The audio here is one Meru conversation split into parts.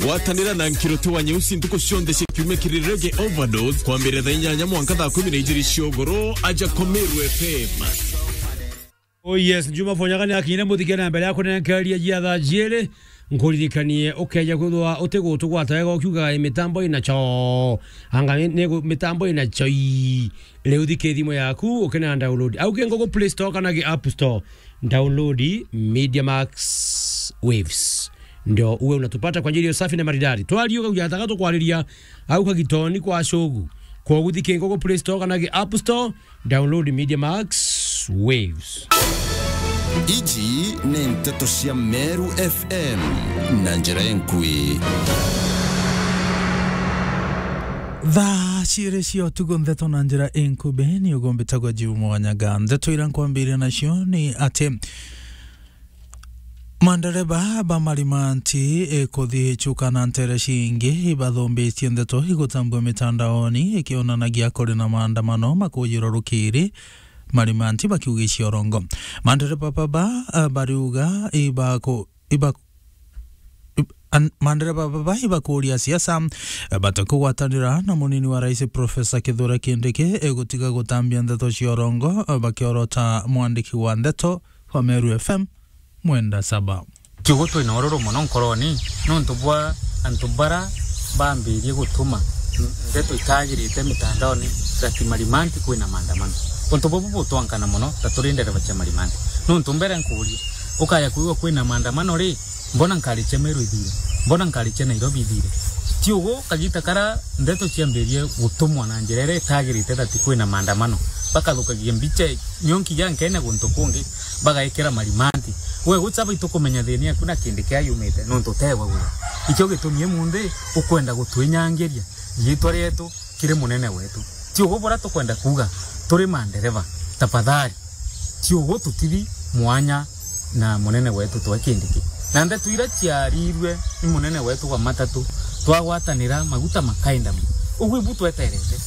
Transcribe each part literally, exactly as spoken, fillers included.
Gwatanira na Nkiruti wa Nyeusi ntuku cionthe cia kiumia kiri Reggae Overdose, kwambiriria thaa inyanya mwanka thaa kumi na ijiri cia ugoro, aja kwa Meru F M. Oh yes, Juma Fonyaga ni akinyire muthike na mbere ya kunenkeria jia thaa jiiri. Nkuririkanie ukeja kwithwa utigutugwata wega ukiuga, "Ii mitambo ina cho." Anga ni gu-, mitambo ina cho ii. Riu thike thimu yaku, ukina download. Au ki Google Play Store kana ki App Store. Download Media Max Waves. Ndio uwe unatupata kwa njia iliyo safi na maridadi. Twariuga kujataga tukwariria au kagitoni kwa shogu. Kwa guthike Google Play Store kana ki App Store, download Media Max Waves. Iji ni nteto cia Meru F M na njira enkui. Thaa ciiri cia utuku, nteto na njira inkubi, ni ugumbitagwa Juma Wanyaga. Nteto ira nkwambiria nacio ni ati mandereba ba marimanti, e, kuthi ichuka na ntere cingi ibathumbitie ndeto igutambua mitandaoni ikionanagia kuri na maandamano makujirwa rukiri, marimanti bakiugicia urongo. Mandereba baba, a, bariuga ibaku-, iba-, ib-, an-, mandereba baba ibakuria siasa, e, batakugwatanira na munini wa rais Professor Kithure Kindiki, e, gutiga gutambia ndeto cia urongo, e, bakiorota mwandiki wa ndeto wa Meru F M, Mwenda Saba. Kiugo twina ururu mono nkoroni, nontu bwa antu bara bambirie gutuma ndeto itagirite mitandaoni, that marimanti kwina maandamano. Untu bubu butwankana mono, ta turi ndereba cia marimanti. Nontu mbere nkuuria, ukaya kwigua kwina maandamano ri, mbona nkari cia Meru ithire? Mbona nkari cia Nairobi ithire? Ti ugu, kagita kara ndeto ciambirie gutumwa na njira iria itagirite, that kwina maandamano, bakathukagia mbicha nyonki ja nkene guntu kungi, bagaikira marimanti. We gucha baitu kumenya thini yaku na kindi kia yumite, nontu utegwa gwe. Ikio gitumi munthi ukwenda gutwinyangiria riitwa rietu kiri munene wetu. Ti ugu bura tukwenda kuuga, turi mandereva, tafadhali. Ti ugu tutithi mwanya na munene wetu twe Kindiki. Na ndeto ira ciarirue ni munene wetu wa matatu, twagwatanira maguta makaenda mu. Ugu ibu tweterete.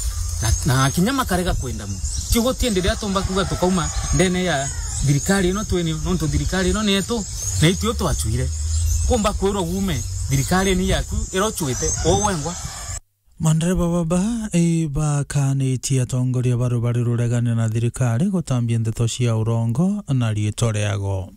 Na, na kinya makarega kwenda mu. Ti ugu tiendi riria tumba kuuga tukauma ndene ya thirikari ino twini, nontu thirikari ino ni yetu, na itio twachuire. Kumba kwirwa gume, thirikari ni yaku, ira uchuite, uu wengwa. Mandereba baba, i bakanitie atongoria ba rubari ruregane na thirikari gutambia ndeto cia urongo na riitwa riago.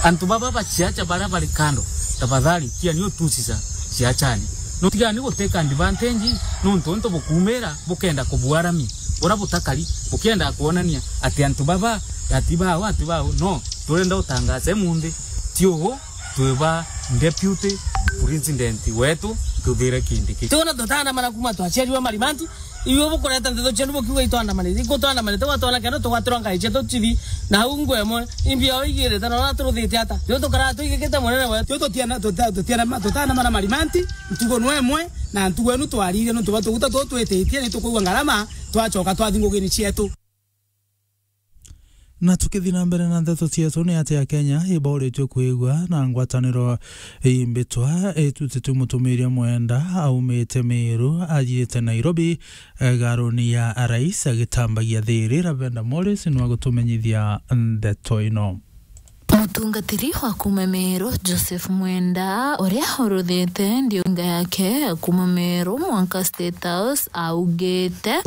Antu baba baciacha baria bari kando, tafadhali, tiani utusica ciachani. No tigani guteka advantage, nontu untu bukumira bukenda kubuarami, bura butakari, bukenda kwonania ati antu baba ati bao, ati bao. No, turenda utangaze munthi, ti ugu, twi ba Deputy President wetu Kithure Kindiki. Tiona tutaandamana kuma twaciariwa marimanti, iwe bukureta ndeto cienu bukiuga itwandamanite. Ikutwandamanite, gwatwona kendo tugwatirwa ngai cietu chithi, na au ngwe imwe, imbi yao igirite, na ura turuthite ata? Tiu tukara tuigikite munene wetu. Tiu tutiana-, tuta-, tutiana-, tutaandamana marimanti, ntugo nwe imwe, na ntugo enu twarire, nontu bwa tuguta tutu twititie, ni tukwigua ngarama, twachoka twathi ngugini cietu. Na tukithi na mbere na ndeto cietu, ni ati Akenya ibauritue kwigua na ngwataniro imbitwa itutitue mutumiria Mwenda aumite Meru ajiite Nairobi, e, garuni ya Rais agitambagia thiri. Ravenda Morris nwa gutumenyithia ndeto ino. Mutungatiri wa kuma Meru, Joseph Mwenda, uria uruthite ndiunga yake ya kuma Meru mwanka State House, augite,